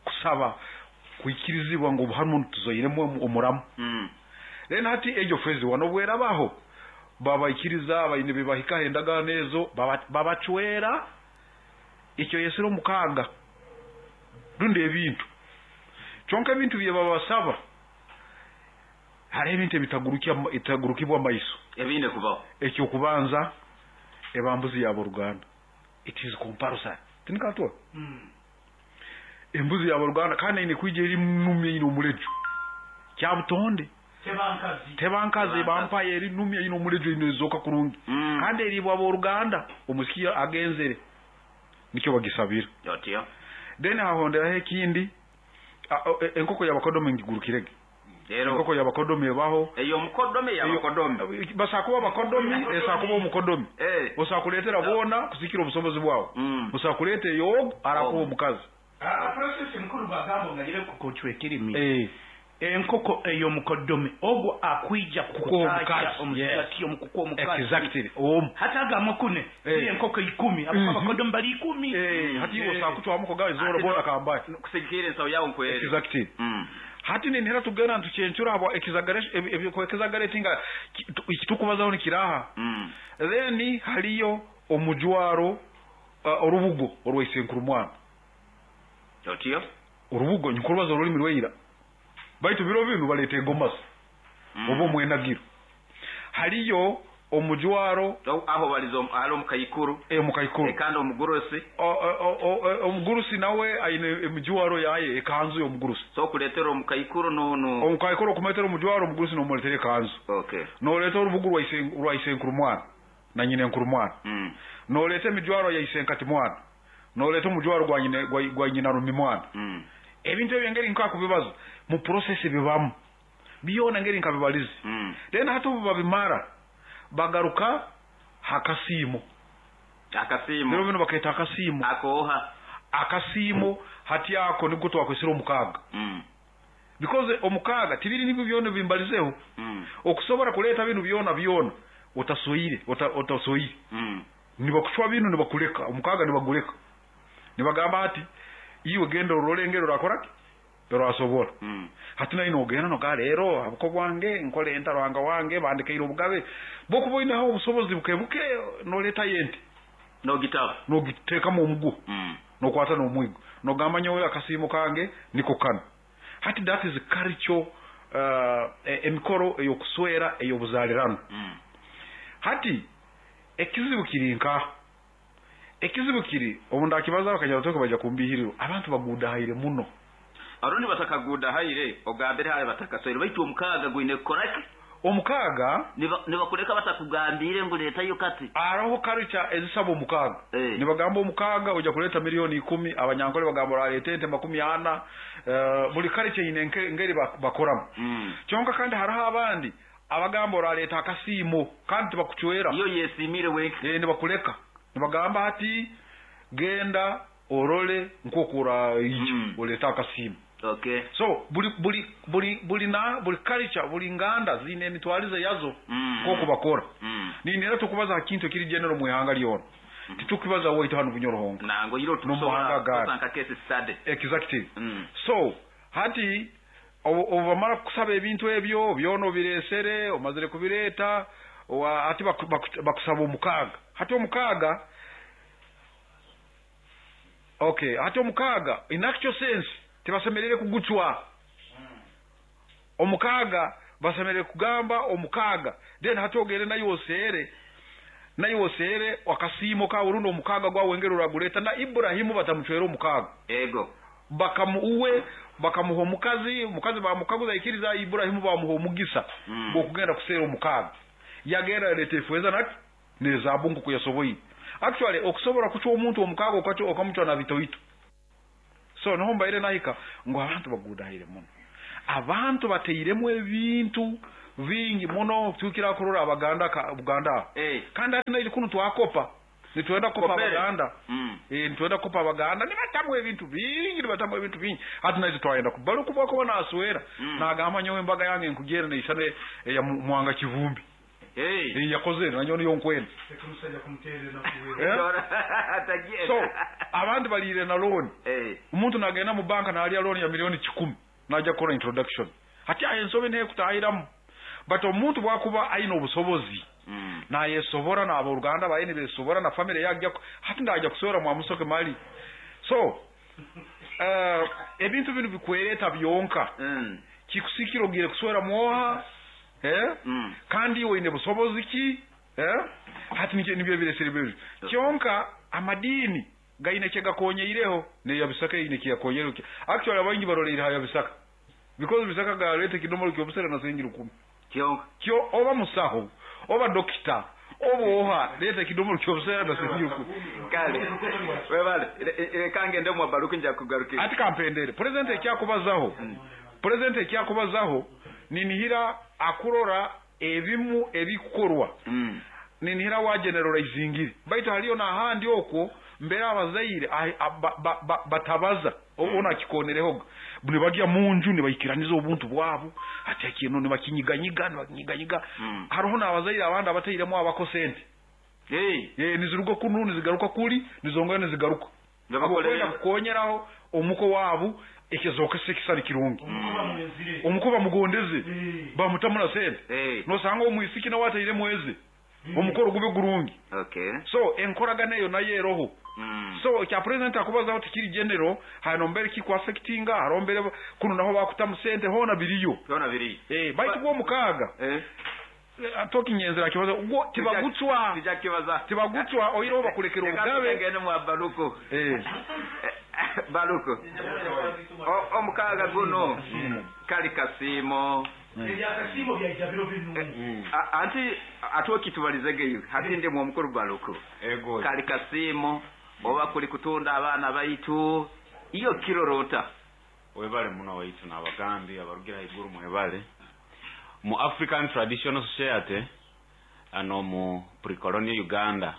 kusaba kwikirizibwa ngo hano tuzoiremu omuramu. Then hati ejo fezi wano bwerabaho babaikiriza abayine bebahika endagaano ezo, babacwera ekyo yesero mukaaga rundi ebintu kyonka ebintu bye babasaba hari ebintu ebitagurukibwa amaiso ebine kubaho. Ekyo kubanza ebambuzi ya Ruganda, it is compulsory tinikatwa. Embuzi ya Ruganda kandi ine kwija eri numye ino omulejo kyabutonde. Tebankazi. Tebankazi bampaye eri numye ino omulejo ino ezoka kurungi. Kandi eri bwa Ruganda omusiki agenzere nikyo bagisabira. Yotyo. Then hahonderaho ekindi, enkoko y'abakodome ngigurukirege. Enkoko y'abakodome ebaho. Eyo mukodome y'abakodome. Basakuba abakodomi, esakuba omukodomi. Osakuletera bona kusikira obusobozi bwawe. Osakuleta eyo arakuba omukazi. Process mukuru bagambo ngayire kukochwekirimi. Enkoko eyo mukodome ogwo akwija kukutaja omusati omukuko omukazi. Exactly. Hata agamokune enkoko 10 abakodome bali 10. Hati osakuchwa amuko gawe zoro bona kambaye. Kusikira ensawo yawo nkwere. Exactly. Hati ninhera tugenda ntuchenchura abo exaggerate nga ikitukubazaho ni kiraha. Then haliyo omujwaro orubugo orwaisenkuru mwana. Otyo? Urubugo nyikurubaza orulimi rweira. Baitu biro binu baleta engomasi. Obo mwenagiro. Haliyo omujwaro aho balizo halo mukayikuru. Mukayikuru. Kandi omugurusi. Omugurusi nawe aine emijwaro yaye ekanzu y'omugurusi. So kuletera omukayikuru no omukayikuru kumetera omujwaro omugurusi no muletere ekanzu. Okay. No leta urubugo rwa isenkuru mwana na nyine nkuru mwana. No leta emijwaro ya isenkati mwana. No leta omujwaro gwa nyine gwa nyina rumi mwana. Ebintu ebyo ngeri nkakubibaza mu process bibamu biyona ngeri nkabibalizi. Then hatu babimara bagaruka hakasimo. Akasimo rero bino baketa akasimo akoha akasimo hati yako nibwo twakwesera omukaga. Because omukaga tibiri nibyo byona bimbalizeho. Okusobora kuleta binu byona byona utasoire utasoire. Nibakuchwa binu nibakuleka omukaga nibaguleka nibagamba ati iwe genda orolengero rakoraki rasobora. Hati nayo nogenda noga rero abuko bwange nkole enta rwanga wange bandikeire obugabe bokuboina aho obusobozi bukebuke noleta yente nogitaba nogiteka mu mugu. Nokwata nomwigo nogamba nyowe akasimo kange niko kano. Hati that is culture emikoro eyokuswera eyobuzalirano. Hati ekizibu kiri nka ekizibu kiri obunda akibaza bakanyaratoka baja kumbihiriro abantu baguda haire muno. Arundi batakaguda haire ogambire haire batakasoire baitu omukaga gwine koraki omukaga nibakureka batakugambire ngo leta yo kati araho culture ezisaba omukaga. Nibagamba omukaga oja kuleta milioni 10 abanyankole bagamba ralete ente 40. Buli culture ine ngeri bakoramu. Kyonka kandi haraho abandi abagamba oraleta akasimo kandi tibakuchwera iyo yesimire we nibakuleka nibagamba ati genda orole nkokura ichi oleta akasimo. Okay. So buli buli buli buli na buli culture buli nganda zine emitwalize yazo nkoko bakora. Ninera tukubaza kintu kiri general mu ihanga lyona. Titukubaza woito hano Bunyoro-Hongo. Nango yiro tusobola kusanka case study. Exactly. So hati obamara kusaba ebintu ebyo byono biresere omazire kubireta ati bakusaba omukaga. Hati omukaga okay, hati omukaga in actual sense tibasemerere kuguchwa. Omukaga basemerere kugamba omukaga then hati ogere nayo osere wakasimo ka urundo omukaga gwa wengero raguleta na Ibrahimu batamuchwera omukaga. Ego bakamuuwe bakamuha omukazi bamukaguza ikiriza Ibrahimu bamuha omugisa bwo kugenda kusera omukaga. Yagera leta efweza naki Nezaabu nkuku yasoboire. Actually okusobora kucwa omuntu omukaaga okamucwa na bitoito. So niho mbaire nahika ngu abantu bagudahire muno. Abantu bateiremu ebintu bingi muno tukira kurora Abaganda Buganda. Kandi ati naije kunu twakopa. Nitwenda kukopa Abaganda. Nitwenda kukopa Abaganda nibatamu ebintu bingi, nibatamu ebintu bingi. Hati naije twayenda kubaluku bwakuba naswera. Nagamba nyowe embaga yange nkugere neisana eya Mwanga Kivumbi. Yakoze nanyo niyo nkwenda. So abandi balire na loan. Omuntu nagenda mu banka nalya loan ya 1,000,000 najja kukora introduction. Hati aho ensobi nekutahiramu. But omuntu bwakuba aine obusobozi nayesobora n'aboruganda baye nibesobora na family yajja hati ndajja kuswera mwamusoke mali. So ebintu binu bikwereta byonka. Kikusikira ogire kuswera mwoha kandi iwe oine busobozi ki? Hati nibyo ebiresere byo. Kyonka amadini gaine kyegakonyeireho neya Bisaka eine kyeyakonyeireho. Actually abaingi baroleire ha ya Bisaka. Because Bisaka galeta ekidomolo ky'obusera na siringi 10. Kyonka kyo oba musaho oba dokita oba oha leta ekidomolo ky'obusera na siringi 10. Kale webale kange ndemwa baruku nja kugarukira. Ati kampendere president ekyakubazaho. President ekyakubazaho ninihira akurora ebimu ebikukorwa. Ninihira wa generalizingire. Baitu haliyo n'ahandi okwo mbere abazaire batabaza ona kikonerehoga. Nibagya munju nibaikiraniza obuntu bwabo ati akino nibakinyiganyiga nibakinyiganyiga. Hariho n'abazaire abandi abatairemu abako sente. Niziruga kunu nizigaruka kuli nizongera nizigaruka. Abakwenda kukonyeraho omuko wabo ekizoka sekisari kirungi. Omuko bamugondeze bamutamuna sente. Nosanga omwisiki nawe ataire mweze. Omukoro gube gurungi. So enkoragana eyo nayo eroho. So kya president akubazaho tikiri general hano mbere kikwa affectinga harombere kuno naho bakutamu sente hona biriyo. Hona biriyo. Baitu gwo mukaga. Tokinyenzera kibazo gwo tibagutswa. Tibagutswa oiro bakulekera obugabe. Ngene mwa Baruku. Baruku. Omukaga guno kali kasimo. Ebyakasimo byaija biro binu. Anti atwokitubalizegeyo hati ndi mu mukuru Baruku. Kali kasimo oba kuli kutunda abana baitu iyo kirorota. Webale muno waitu n'abagambi abarugira iguru mwebale. Mu African Traditional Society ano mu pre-colonial Uganda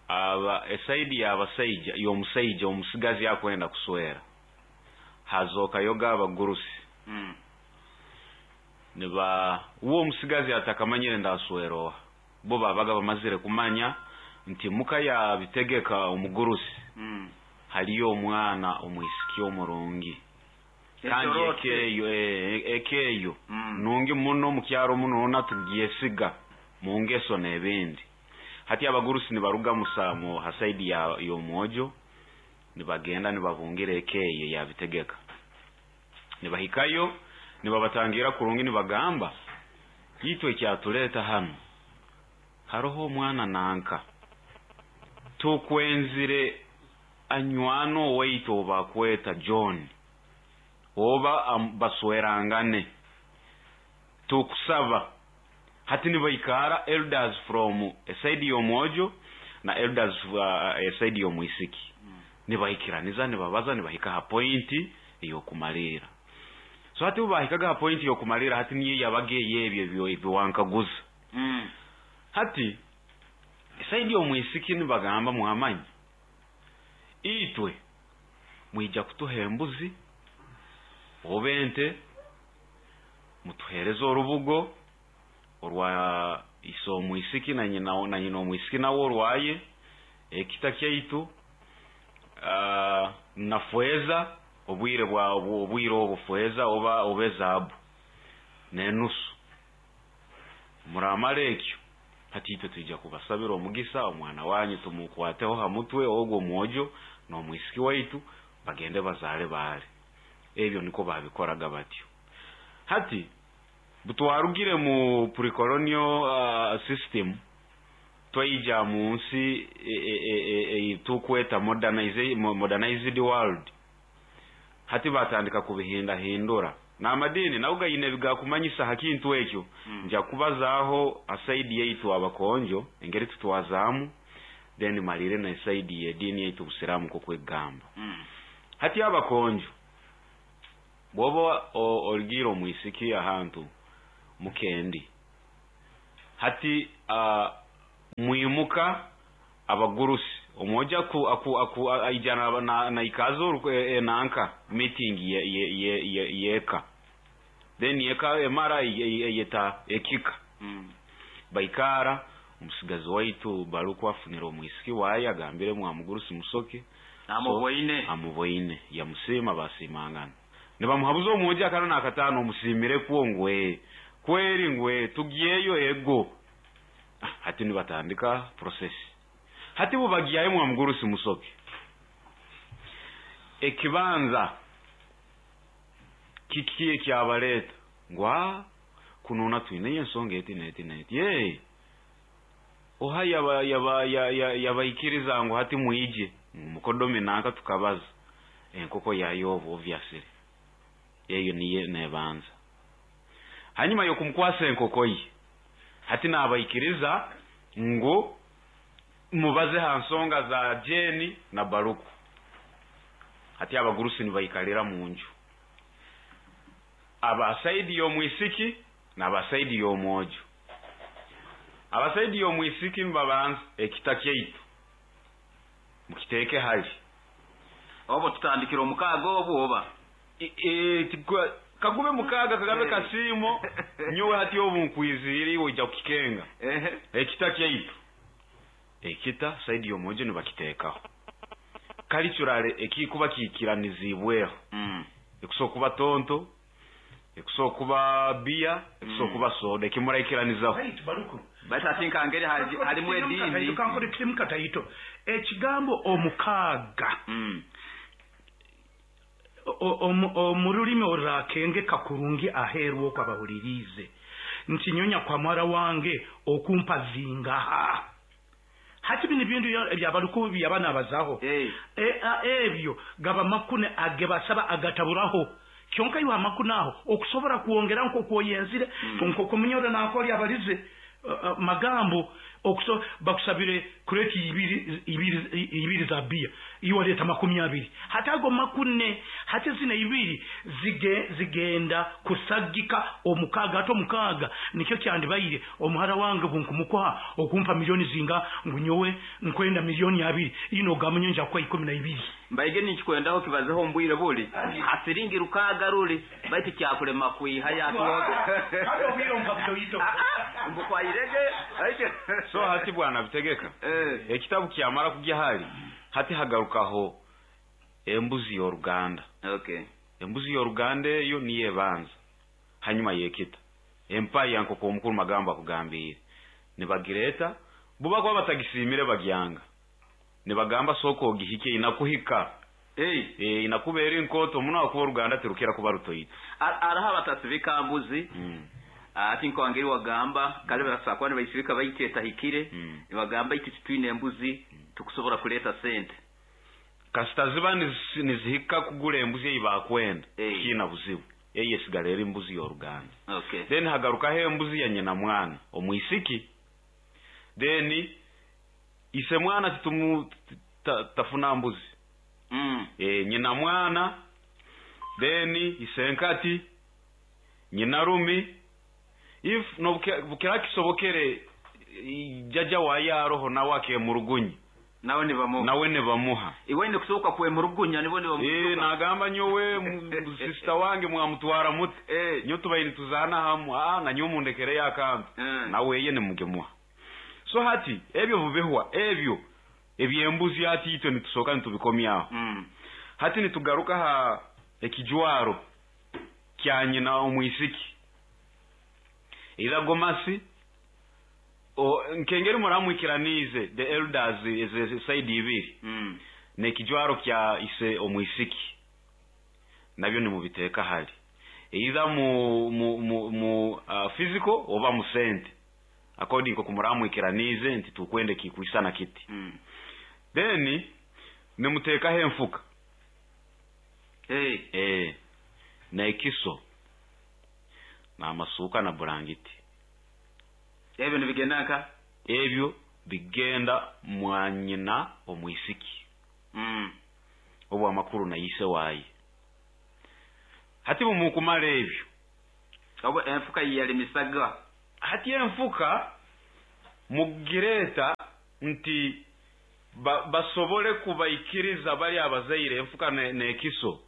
aba esaidi y'abasaija y'omusaija omusigazi akwenda kuswera hazoka yoga abagurusi. Niba uwo omusigazi atakamanyire ndaswera bo babaga bamazire kumanya nti muka ya bitegeka omugurusi. Haliyo omwana omwisiki omurungi. Kandi ekeyo nungi muno mukyaro muno na tugyesiga mu ngeso n'ebindi. Hati abagurusi nibaruga musamo hasaidi ya y'omwojo nibagenda nibabungira ekeyo ya bitegeka. Nibahikayo nibabatangira kurungi nibagamba yitwe kyatuleta hano haroho omwana nanka tukwenzire anywano waitu obakweta John oba baswerangane tukusaba. Hati nibaikara elders from eside y'omwojo na elders eside y'omwisiki. Nibaikiraniza nibabaza nibahika ha pointi eyokumalira. So hati ubahikaga ha pointi yokumalira hati niye yabage yebyo ebiwankaguza. Hati eside y'omwisiki nibagamba muhamanyi itwe mwija kutuha embuzi obente mutuhereza orubugo orwa iso omwisiki na nyina omwisiki nawo orwaye ekita kyaitu na fweza obwire bwa obwire obufweza oba obezabu nenusu muramara ekyo. Hati itwe tuija kubasabira omugisa omwana wanyu tumukwateho ha mutwe ogwo mwojo n'omwisiki waitu bagende bazale baale. Ebyo niko babikoraga batyo. Hati butwarugire mu pre-colonial system twaija mu nsi tukweta modernized world. Hati batandika kubihindahindura. N'amadini nago gayine ebigakumanyisa ha kintu ekyo. Nja kubazaaho asaidi yaitu abakonjo engeri tutwazaamu, then malire na esaidi y'ediini yaitu obusiraamu nk'okwegamba. Hati abakonjo bw'oba origiire omwisiki ahantu mukendi, hati mwimuka abagurusi omwoja aku aku aku aija naikaza enanka meeting yeka, then yeka emara eyeta ekika. Baikara omusigazi waitu baruku afunira omwisiki waye, agambire mwamugurusi musoke amuboine. Amuboine yamusiima, basimangana nibamuhabuza omwoja akana nakatano omusimire kwo ngwe kweri ngwe tugyeyo ego. Hati nibatandika process. Hati bubagyayo mwamugurusi musoke, ekibanza kiki ekyabaleta ngwa kunona twine ensonga eti neti neti ye oha yabaikiriza ngu hati mwije mukodome nanka tukabaza enkoko yayo obviously eyo niye nebanza. Hanyuma yokumkwasa enkoko ye, hati nabaikiriza ngu mubaze ha nsonga za Jeni na Baruku. Hati abagurusi nibaikalira mu nju, abasaidi y'omwisiki n'abasaidi y'omwojo. Abasaidi y'omwisiki nibabanza ekita kyaitu mukiteeke hali obo tutandikira omukaaga obwo oba kagube mukaaga kagabe kasiimo nyowe hati obu nkwizire iwe ojja kukikenga. Ekita kyaitu ekita saidi y'omwojo nibakiteekaho kalichurale ekikuba kikiranizibweho. Ekusobola kuba tonto, ekusobola kuba bia, ekusobola kuba soda, ekimuraikiranizaho. Baruku bati ati nkangeri halimu edini kankore kirimu kataito ekigambo omukaaga. Omu rulimi orurakenge kakurungi aheeru okwo abahuliriize nti nyonya kwa mwara wange okumpa zingaha. Hati bino ebintu ebyabaruku byabana abazaho ebyo gaba makune agebasaba agataburaho kyonka iwe amakune aho okusobora kwongera nk'okwoyenzire nk'okomunyoro nakoli abalize magambo okuso bakusabire kureti ibiri za bia iwe leta 20 hati ago makune hati zina ibiri zigenda kusagika omukaga ato omukaga nikyo kyandibaire omuhara wange bunkumukuha okumpa milioni zinga ngunyowe nkwenda milioni 2 ino gamunyonja kwa 12 mbaige nikikwendaho kibazeho mbwire buli asiringi rukaga ruli baitu kyakulema kuiha yatumbukwairege. So hati bwana bitegeka ekitabu kyamara kujya hali hati hagarukaho embuzi y'oruganda. Embuzi y'oruganda eyo niyo ebanza hanyuma yekita empaya nk'oku omukuru magambo akugambire nibagireta buba kuba batagisimire bagyanga nibagamba soko ogihike inakuhika inakubeera enkoto muno akuba oruganda tirukira kuba rutoito. Araho abatasibika mbuzi ati nkongeri wagamba kale basakwa nibaisibika baiteta hikire nibagamba iti tutwine embuzi tukusobora kuleta sente kasita ziba nizihika kugura embuzi eyi bakwenda kina buzibu eyi esigala eri embuzi y'oruganda. Then hagarukaho embuzi ya nyina mwana omwisiki, then ise mwana titumu tafuna mbuzi. Nyina mwana, then isenkati, nyina rumi, if no bukira kisobokere jaja wayaroho nawe akemurugunyi nawe nibamuha iwe ni kusoboka kwemurugunya nibo nibamuha. Nagamba nyowe sister wange mwamutwara mute nyo tubaini tuzana hamu na nyo mundekere yakantu nawe yeye nimugemuha. So hati ebyo bubihwa ebyo ebyembuzi hati itwe nitusoka nitubikomyaho. Hati nitugaruka ha ekijwaro kya nyina omwisiki ira gomasi nkengeri muramwikiranize the elders is side ibiri nekijwaro kya ise omwisiki nabyo nimubiteeka hali either mu physical oba mu sente according kumuramwikiranize nti tukwende kikuisana kiti. Then nimutekaho enfuka na ekiso N'amasuuka na burangiti. Ebyo nibigenda nka? Ebyo bigenda mwanyina omwisiki. Obu amakuru na ise waye. Hati bumukumala ebyo. Obu enfuka yalimisaga. Hati enfuka mugireta nti basobole kubaikiriza bali abazaire enfuka nekiso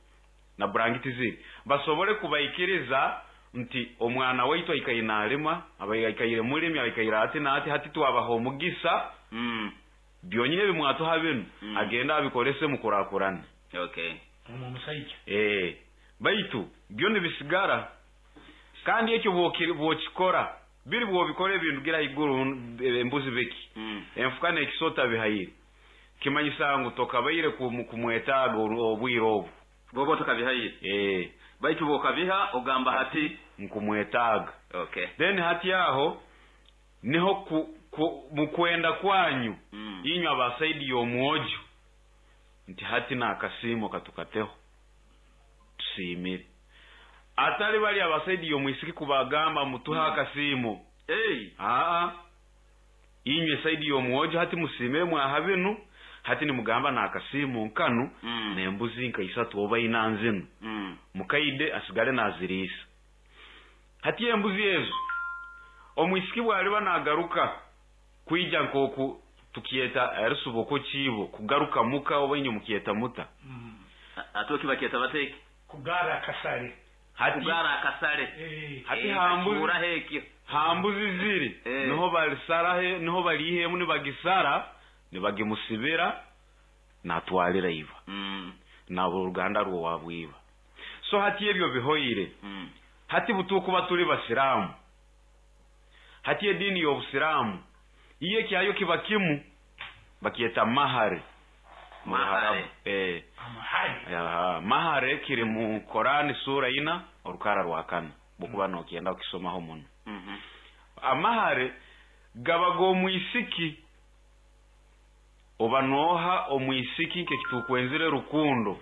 na burangiti ziri. Basobole kubaikiriza nti omwana waitu aikaire nalima, abaikaire mulimi, aikaire ati na ati, hati twabaha omugisa. Byonyine bimwatuha binu, agenda abikolese mukurakurana. Okay. Omusaija. Baitu byo nibisigara. Kandi ekyo bwokikora, biri bwobikora ebintu gira iguru embuzi biki. Enfuka n'ekisota bihayire. Kimanyisa ngu tokabaire kumwetaaga obwire obu. Bwoba tokabihayire. Baitu bwokabiha ogamba hati nkumwetaaga. Okay. Then hati aho niho mukwenda kwanyu inywe abasaidi y'omwojo nti hati n'akasiimo katukateho tusiimire. Atali bali abasaidi y'omwisiki kubagamba mutuhe akasiimo. Inywe saidi y'omwojo hati musiimire mwaha binu, hati nimugamba n'akasiimo nkanu n'embuzi nka isatu oba ina nzinu. Mukaide asigale naziriisa. Hati embuzi ezo omwisiki bwaliba nagaruka kwija nkoku tukieta erisubo kibo kugaruka muka oba inyo mukieta muta. Atoki bakieta bateki kugara akasale. Hati kugara akasale. Hati hambuzi hambuzi ziri niho balisara niho balihemu nibagisara nibagimusibira natwalira iva. Na uruganda rwo wabwiba. So hati ebyo bihoire. Hati butukuba tuli basiramu. Hati edini y'obusiramu iye kyayo kiba kimu bakieta mahare. Mahare. Mahare. Mahare kiri mu Korani sura 4 orukara rwa 4. Bukuba nokienda ukisomaho muno. Amahare gabago omwisiki oba noha omwisiki nkekitukwenzire rukundo.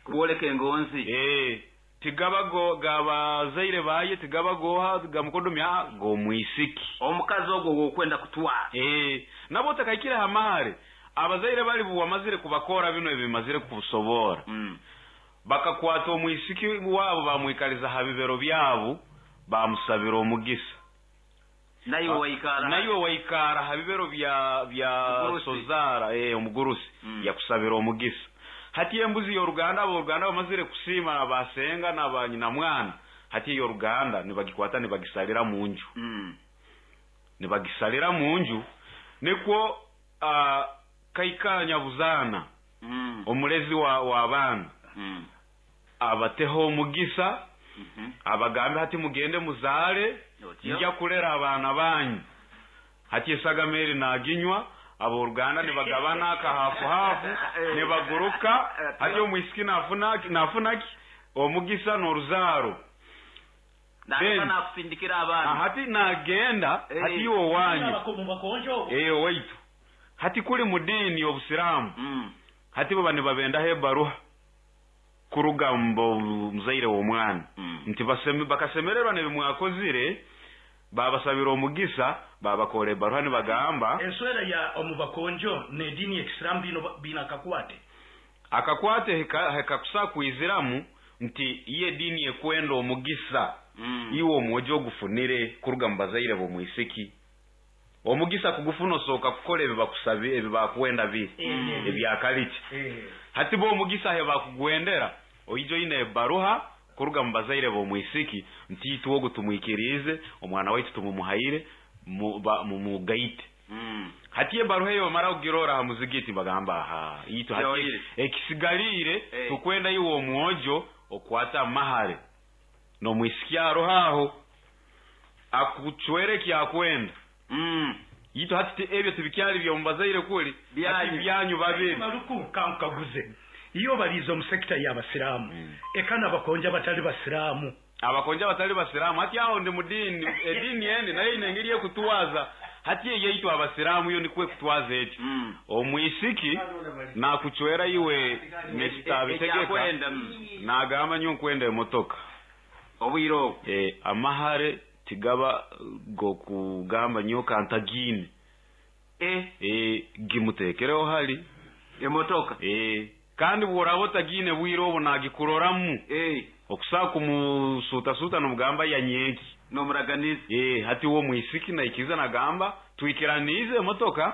Kuboleka engonzi. Tigabago gabazaire baye tigabagoha gamukodomya go mwisiki. Omukazi ogwo wokwenda kutwara. Nabo takaikira hamahare. Abazaire bali buwamazire kubakora bino ebimazire kubusobora. Bakakwata omwisiki wabo bamwikaliza habibero byabo bamusabira omugisa. Nayo waikara. Nayo waikara habibero bya sozara omugurusi yakusabira omugisa. Hati embuzi y'oruganda aboruganda bamazire kusima abasenga n'abanyina mwana. Hati y'oruganda nibagikwata nibagisalira munju. Nibagisalira munju nikwo kaikanya buzana. Omulezi wa abaana. Abateho omugisa. Abagambe hati mugende muzale nja kulera abaana banyu. Hati esagameri naginywa aboruganda nibagabana akahafu hafu nibaguruka. Hati omwisiki nafunaki omugisa n'oruzaro. Ndabona kusindikira abana. Hati nagenda hati iwo wanyu. Waitu. Hati kuli mudini y'obusiramu. Hati baba nibabenda hebaruha kuruga mbo muzaire w'omwana. Nti bakasemererwa nebimwakozire babasabira omugisa babakore baruha nibagamba enswera ya omubakonjo ne dini ya Islam bino bina akakwate. Akakwate hekakusa kuiziramu nti iye dini ekwenda omugisa. Iwo omwojo ogufunire kuruga mubazaire bomwisiki. Omugisa kugufuna osoka kukora ebibakusabi ebibakwenda biri ebyakaliki. Hati bo omugisa he bakugwendera oijo ine baruha kuruga mubazaire bomwisiki nti itwogo tumwikirize omwana waitu tumumuhaire mumugaite. Hati ebaruha eyo mara kugirora ha muzigiti bagamba ha itu hati ekisigalire tukwenda iwo omwojo okwata mahare no mwisiki arohaho akuchwere kyakwenda. Yito hati ebyo tibikyali byo mubazaire kuli hati byanyu babiri. Maruku kankaguze iyo balizo mu sekta ya basiramu ekana bakonja batali basiramu. Abakonja batali basiramu hati aho ndi mudini edini ende nayo inengiriye kutuwaza hati yeyitu abasiramu yo nikwe kutwaza eti omwisiki nakuchwera iwe mr bitegeka nagamba nyo nkwenda emotoka. Obwire obu. Amahare tigaba gokugamba nyoka ntagine. Gimutekereho hali emotoka. Kandi bworaba otagine bwire obu nagikuroramu. Okusaa kumusutasuta nomugamba yanyenki nomuraganiza. Hati wo mwisiki naikiriza nagamba twikiranize emotoka.